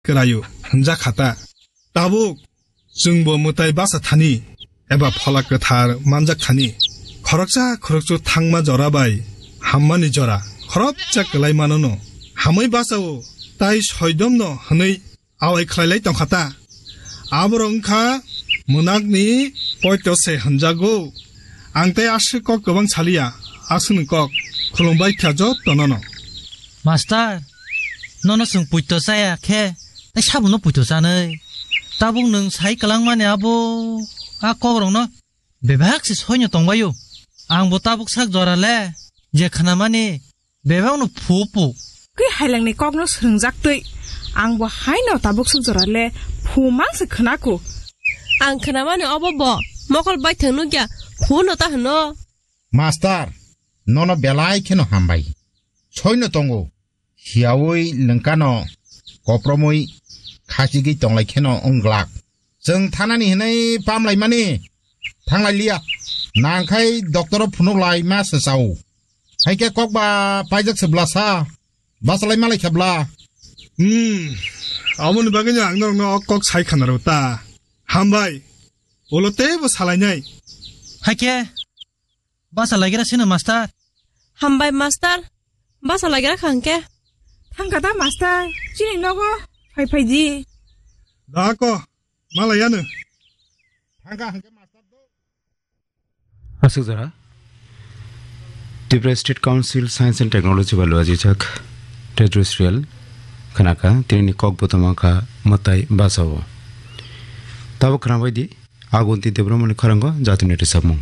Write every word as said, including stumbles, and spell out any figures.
kwraio hwnjak kha ta. Tabuk chwngbo mwtai basa thani eba phola kwthar manjak thani, khoroksa khoroksa thangma jora bai hammani jora khoroksa kwlai manono hamwi bachao, tai soidomno hwnwi awai khlailai tongkha ta. Aborok wngkha mwnakni poito se hwnjago. Ang tei aswk kok kwbang saliya, aswkni kok khulumbai kha jotonono. Master, nono chwng puito chaya khe, tei sabono puito chanwi. Tabuk nwng sai kwlangmani abo a kokrokno bebak se soino tongbaio. Angbo tabuk sak jora le je khnamani bebakno phu phu. Kwi hailangni kokno swrwngjak twi. Angbo haino tabuk sak jora le phu mang se khnaku. Ang khnamani obo bo mokol baithang nukya phu no ta hwno. Master, nono belai kheno hambai. Soino tongo. Hiyaui lwngkano kopromwi khachigwi tonglai kheno wng glak. Chwng thanani hwnwi pamlaimani thanglai liya. Nangkhai doctor-o phunuk lai ma swchao. Hai khe kok ba paijak se bwlasa. Bachalai malai khe bwla. Hmm, aboni bagwino ang norokno o kok sai khanaro ta. Hambai. Ulo teibo salainai. Hai khe. Basa lagira sino, master. Hambai, master. Basa lagira kha hwnkhe. Thangkha da, master. Chini nogo phai phai di. Da ko, malai yanu. Thangkha hwnkhe, master do. Aswk jora. Tripura State Council Science and Technology bai lua jijak terrestrial khnaka, tini ni kok botoma kha mwtai basa o. Tabuk khna bai di, Agunti Debbarmani khorang o jatini rwchapmung.